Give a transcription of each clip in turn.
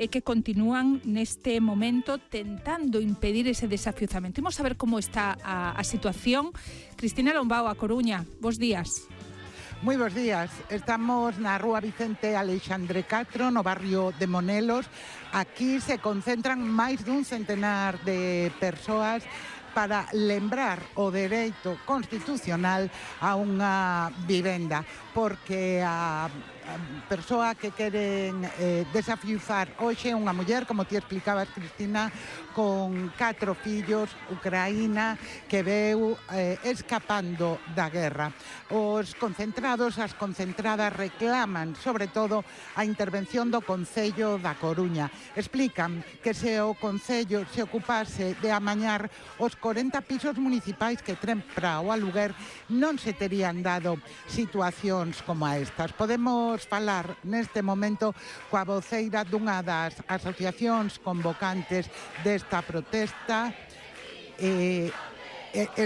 e que continúan neste momento tentando impedir ese desafiuzamento. Imos saber como está a situación. Cristina Lombao, a Coruña, bos días. Moi bons días. Estamos na Rúa Vicente Aleixandre 4, no barrio de Monelos. Aquí se concentran máis dun centenar de persoas para lembrar o dereito constitucional a unha vivenda, porque a persoa que queren desafiuzar hoxe unha muller, como ti explicabas, Cristina, con 4 fillos, Ucraína, que veu escapando da guerra. Os concentrados, as concentradas reclaman, sobre todo, a intervención do Concello da Coruña. Explican que se o Concello se ocupase de amañar os 40 pisos municipais que tren para o aluguer, non se terían dado situacións como a estas. Podemos falar neste momento coa voceira dunha das asociacións convocantes desta protesta, e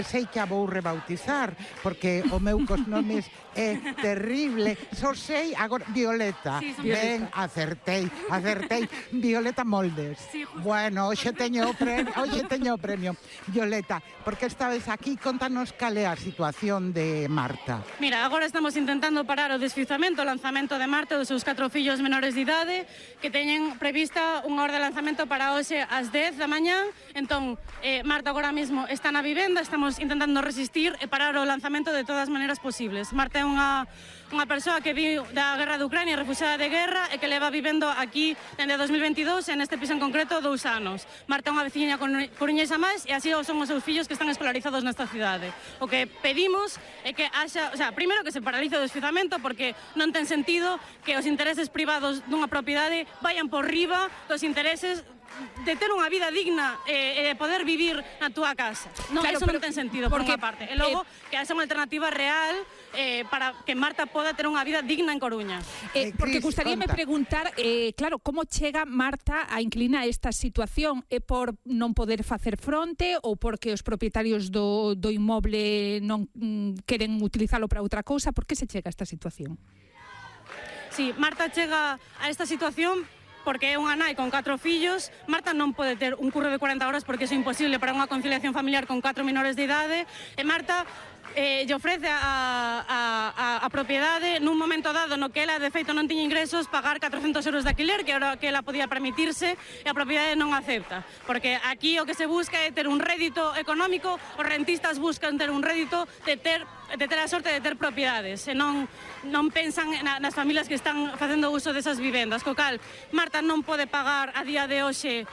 sei que a vou rebautizar, porque o meu cosnomes é terrible. Só sei agora, Violeta. Ben, acertei. Violeta Moldes. Bueno, hoxe teño o premio. Violeta, por que estabes aquí? Contanos cal é a situación de Marta. Mira, agora estamos intentando parar o desfiuzamento, o lanzamento de Marta e dos seus 4 fillos menores de idade, que teñen prevista unha hora de lanzamento para hoxe ás 10 da mañá. Entón, Marta agora mesmo está na vivenda, estamos intentando resistir e parar o lanzamento de todas as maneiras posibles. Marta é unha persoa que vive da guerra de Ucrania, refuxiada de guerra, e que leva vivendo aquí dende 2022 e neste piso en concreto 2 anos. Marta é unha veciña coruñesa máis e así son os seus fillos que están escolarizados nesta cidade. O que pedimos é que haxa, primeiro que se paralice o desfiuzamento, porque non ten sentido que os intereses privados dunha propiedade vayan por riba dos intereses de ter unha vida digna e de poder vivir na túa casa. Non, claro, eso non ten sentido por unha parte. E logo, que haxa unha alternativa real para que Marta poda ter unha vida digna en Coruña. Porque gustaríame preguntar, claro, como chega Marta a inclinar esta situación? É por non poder facer fronte ou porque os propietarios do inmoble non queren utilizalo para outra cousa? Por que se chega a esta situación? Sí, Marta chega a esta situación porque é unha nai con 4 fillos. Marta non pode ter un curro de 40 horas porque é imposible para unha conciliación familiar con 4 menores de idade. E Marta lle ofrece a propiedade nun momento dado no que ela de feito non tiña ingresos pagar 400 euros de alquiler, que era que ela podía permitirse, e a propiedade non acepta, porque aquí o que se busca é ter un rédito económico. Os rentistas buscan ter un rédito de ter a sorte de ter propiedades e non pensan nas familias que están facendo uso desas vivendas. Co cal, Marta non pode pagar a día de hoxe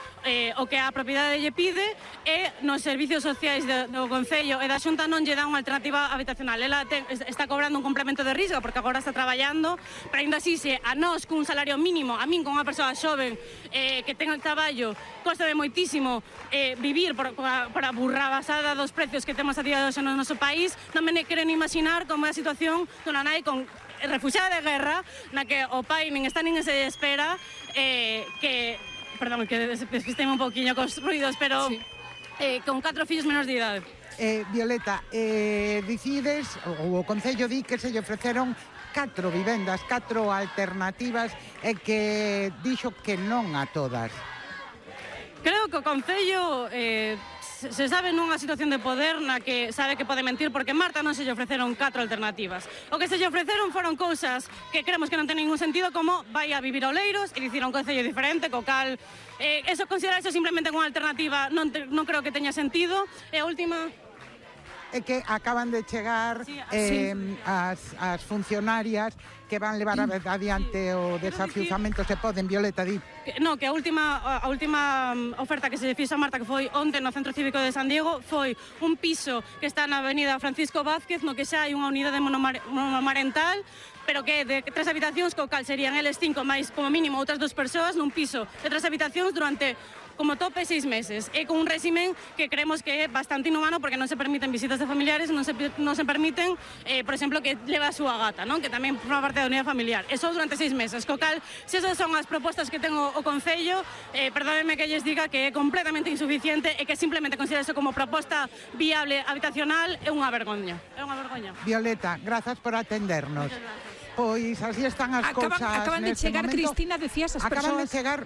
o que a propiedade lle pide, e nos servicios sociais do Concello e da Xunta non lle dá unha alternativa habitacional. Ela está cobrando un complemento de risco porque agora está traballando, pero ainda así se a nós cun salario mínimo, a min con unha persoa xoven que ten traballo, costa de moitísimo vivir por a burrabasada dos precios que temos a día de hoxe no noso país. Non me queren imaginar como é a situación dunha nai con refuxiada de guerra, na que o pai nin está nin se espera, perdón, que despisteme un poquinho cos ruidos, pero sí, con 4 fillos menores de idade. Violeta, dicides, ou o Concello di que se lle ofreceron 4 vivendas, 4 alternativas, e que dixo que non a todas. Creo que o Concello se sabe nunha situación de poder na que sabe que pode mentir, porque Marta non se lle ofreceron 4 alternativas. O que se lle ofreceron foron cousas que creemos que non ten ningún sentido, como vai a vivir a Oleiros e dicir a un concello diferente, co cal eso, considerar eso simplemente unha alternativa non creo que teña sentido. E a última é que acaban de chegar as funcionarias que van levar adiante o desafiuzamento. Se poden, Violeta, di. No, que a última oferta que se lle fixo a Marta, que foi onte no Centro Cívico de San Diego, foi un piso que está na avenida Francisco Vázquez, no que xa hai unha unidade monomarental, pero que de 3 habitacións, co cal serían eles 5 máis como mínimo outras 2 persoas nun piso de 3 habitacións durante como tope 6 meses, e con un réximen que creemos que é bastante inhumano, porque non se permiten visitas de familiares, non se permiten, por exemplo, que leva a súa gata, non? Que tamén forma parte da unidade familiar. Eso durante 6 meses. Co cal, se esas son as propostas que ten o Concello, perdónenme que lles diga que é completamente insuficiente e que simplemente considera eso como proposta viable habitacional. É unha vergoña. É unha vergoña. Violeta, grazas por atendernos. Pois así están as cousas. Acaban de chegar, momento. Cristina, decías as persoas. Acaban de chegar